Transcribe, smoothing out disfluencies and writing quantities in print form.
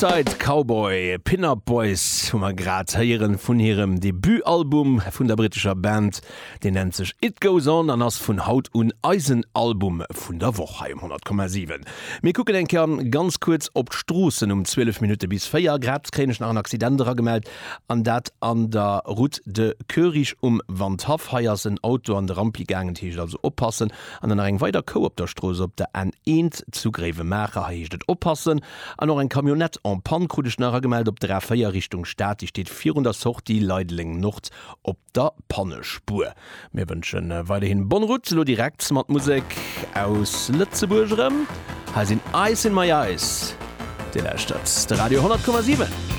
Suicide Cowboy, Pin Up Boys hu mer grad héieren vun hirem Debutalbum vun der brittescher Band. Deen nennt sech It Goes On an ass vun haut un eisen Album vun der Woch hei um 100,7. Mir kucken eng Kéier ganz kuerz op d'Stroossen um 12 Minutte bis 4. Grad kréien ech nach en Accident eragemellt an dat an der Route de Koerich um Wandhaff. Hei ass en Auto an de Rampi gaangen, et heescht also oppassen. An dann nach eng weider Kou op der Strooss op der N1 zu Gréiwemaacher. Hei heescht et oppassen. An och eng Camionnette en panne krut ech nach eragemellt op der A4 Richtung Stad. Déi steet virun der Sortie Leideleng Nord op der Pannespuer. Mir wënsche weiderhin bonne route. Elo direkt mat Musek aus Lëtzebuerg erëm. Hei sinn Ice in my Eyes. Dir lauschtert de Radio 100,7.